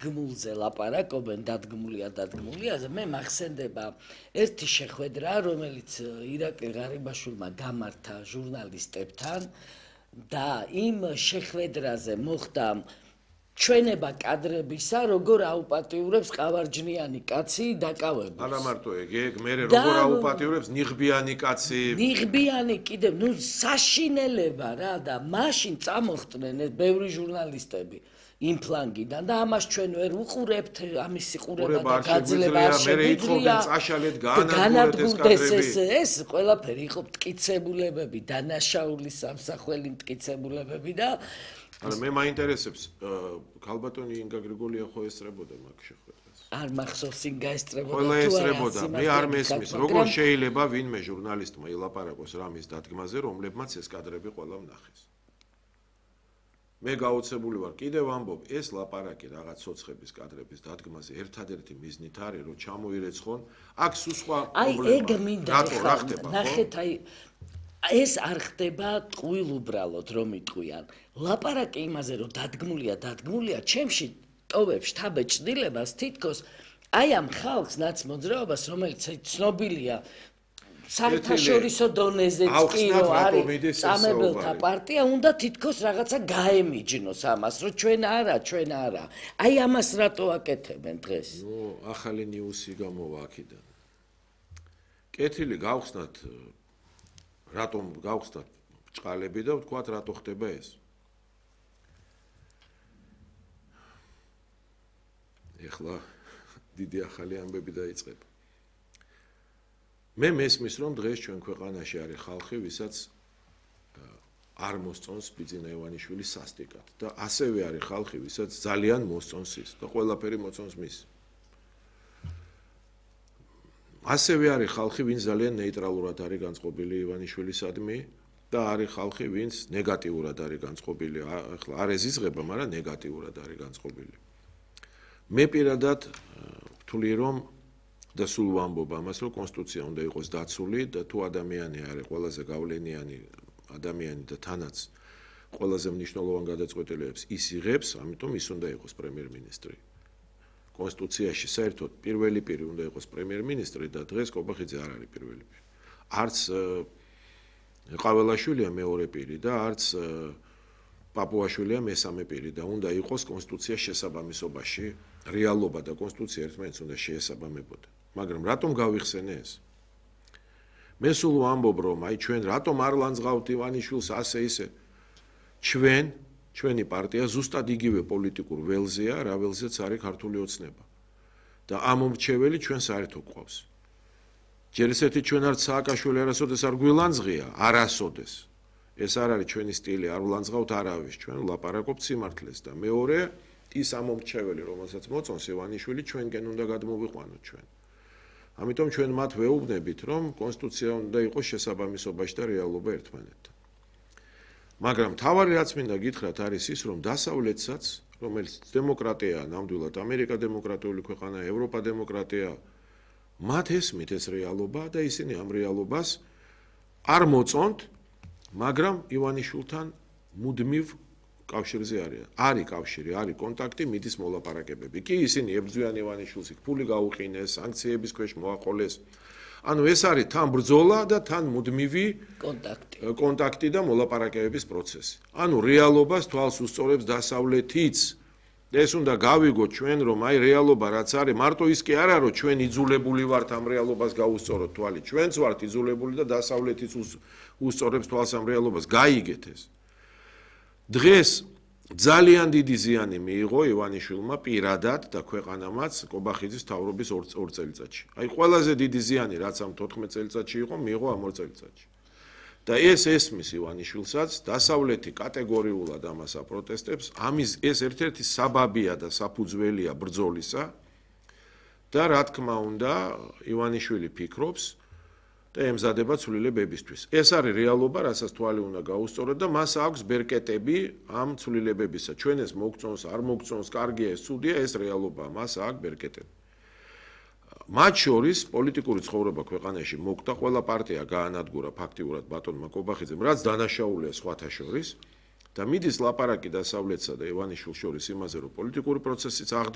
დადგმულზე ლაპარაკობენ, დადგმულიაზე, მე მახსენდება ერთი შეხვედრა, რომელიც ირაკლი ღარიბაშვილმა გამართა ჟურნალისტებთან და იმ შეხვედრაზე მოხდა ჩვენება კადრებისა, როგორ აუპატიურებს ყავარჯნიანი კაცი დაკავებული. არა მარტო ეგ, მე როგორ აუპატიურებს ნიღბიანი კაცი. ნიღბიანი კიდევ, საშინელება რა და მაშინ წამოხდნენ ბევრი ჟურნალისტები იმ ფლანგიდან და ამას ჩვენ ვერ ვუყურებთ, ამის სიყურება და გაძლება არ შეგვიძლია. წაშალეთ განადგურდეს ეს ყველაფერი იყო მტკიცებულებები, დანაშაულის სამსახველი მტკიცებულებები და არა მე მაინტერესებს ქალბატონი ინგა გრიგოლია ხო ესწრებოდა მაგ შეხვედრას არ მახსოვს ინგა ესწრებოდა ყველა ესწრებოდა მე არ მესმის როგორ შეიძლება ვინმე ჟურნალისტმა ილაპარაკოს რამის დადგმაზე რომლებმაც ეს კადრები ყველა ვნახეს მე გაოცებული ვარ კიდევ ვამბობ ეს ლაპარაკი რაღაც ცოცხების კადრების დადგმაზე ერთადერთი მიზნით არის რომ ჩამოირეცხონ აქ სხვა პრობლემა რა ხდება ნახეთ აი ეს არ ხდება ტყუილ უბრალოდ რომ იტყვიან ლაპარაკი იმაზე რომ დადგმულია ჩემში ტოვებს შთაბეჭდილებას თითქოს აი ამ ხალხს ნაცმოძრაობას რომელიც ცნობილია საერთაშორისო დონეზეც კი რომ არის წამებელთა პარტია უნდა თითქოს რაღაცა გაემიჯნოს ამას რომ ჩვენ არა აი ამას რატო აკეთებენ დღეს ნუ ახალი ნიუსი გამოვა აქედან კეთილი გავხსნათ რატომ გავხსნათ ჭყალები და ვთქვათ რატო ხდება ეს ეხლა დიდი ახალი ამბები დაიწყება მე მესმის რომ დღეს ჩვენ ქვეყანაში არის ხალხი ვისაც არ მოსწონს ბიძინა ივანიშვილის სასტიკად და ასევე არის ხალხი ვისაც ძალიან მოსწონს ის და ყველაფერი მოწონს მის ასევე არის ხალხი ვინც ძალიან ნეიტრალურად არის განწყობილი ივანიშვილისადმი და არის ხალხი ვინც ნეგატიურად არის განწყობილი ახლა არ ეზიზღება მაგრამ ნეგატიურად არის განწყობილი მე პირადად ვთვლი რომ და სულ ვამბობ ამას რომ კონსტიტუცია უნდა იყოს დაცული და თუ ადამიანი არის ყველაზე გავლენიანი ადამიანი და თანაც ყველაზე მნიშვნელოვან გადაწყვეტილებებს ის იღებს ამიტომ ის უნდა იყოს პრემიერ-მინისტრი კონსტიტუციაში საერთოდ პირველი პირი უნდა იყოს პრემიერ-მინისტრი და დღეს კობახიძე არ არის პირველი პირი. არც ყაველაშვილია მეორე პირი და არც პაპუაშვილია მესამე პირი და უნდა იყოს კონსტიტუციის შესაბამისობაში რეალობა და კონსტიტუცია ერთმანეთს უნდა შეესაბამებოდა. მაგრამ რატომ გავიხსენე ეს? მე სულ ვამბობ რომ აი ჩვენ რატომ არ ლანძღავთ ივანიშვილს ასე ისე ჩვენი პარტია ზუსტად იგივე პოლიტიკურ ველზეა, რა ველზეც არის ქართული ოცნება. და ამ მომრჩეველი ჩვენ საერთოდ გვყავს. ჯერ ესეთი ჩვენ არც სააკაშვილი არასოდეს არ გვილანძღია, არასოდეს. ეს არ არის ჩვენი სტილი, არ ვლანძღავთ არავის, ჩვენ ვლაპარაკობთ სიმართლეს და მეორე ის ამ მომრჩეველი, რომელსაც მოწონს ივანიშვილი, ჩვენკენ უნდა გადმოვიყვანოთ ჩვენ. ამიტომ ჩვენ მათ ვეუბნებით, რომ კონსტიტუცია უნდა იყოს შესაბამისობაში და რეალობა ერთმანეთთან. მაგრამ თავარი რაც მინდა გითხრათ არის ის რომ დასავლეთსაც რომელიც დემოკრატია ნამდვილად ამერიკა დემოკრატიული ქვეყანა ევროპა დემოკრატია მათ ესმით ეს რეალობა და ისინი ამ რეალობას არ მოწონთ მაგრამ ივანიშვილთან მუდმივ კავშირზე არის კავშირი არის კონტაქტი მიდის მოლაპარაკებები კი ისინი ებრძვიან ივანიშვილს იქ ფული გაუყინეს სანქციების ქვეშ მოაყოლეს ანუ ეს არის თან ბრძოლა და თან მუდმივი კონტაქტი და მოლაპარაკებების პროცესი. ანუ რეალობას თვალს უსწორებს დასავლეთიც. ეს უნდა გავიგოთ ჩვენ რომ აი რეალობა რაც არის მარტო ის კი არა რომ ჩვენ იძულებული ვართ ამ რეალობას გაუსწოროთ თვალი. ჩვენც ვართ იძულებული და დასავლეთიც უსწორებს თვალს ამ რეალობას. გაიგეთ ეს. დღეს ძალიან დიდი ზიანი მიიღო ივანიშვილმა პირადად და ქვეყანამაც კობახიძის თავრობის 2 წელიწადში. აი ყველაზე დიდი ზიანი რაც ამ 14 წელიწადში იყო მიიღო ამ 2 წელიწადში. და ეს ესმის ივანიშვილსაც დასავლეთი კატეგორიულად ამას აპროტესტებს. ამის ეს ერთ-ერთი საბაბია და საფუძველია ბრძოლისა და რა თქმა უნდა ივანიშვილი ფიქრობს და ემზადება ცვლილებებისთვის. ეს არის რეალობა, რასაც თვალი უნდა გაუსწოროთ და მას აქვს ბერკეტები ამ ცვლილებებისა. ჩვენ ეს მოგწონს, არ მოგწონს, კარგია ეს, ცუდია, ეს რეალობაა, მას აქვს ბერკეტები. მათ შორის პოლიტიკური ცხოვრება ქვეყანაში მოკვდა, ყველა პარტია გაანადგურა ფაქტიურად ბატონმა კობახიძემ, რაც დანაშაულია სხვათა შორის და მიდის ლაპარაკი დასავლეთსა და ივანიშვილს შორის იმაზე, რომ პოლიტიკური პროცესიც აღდგება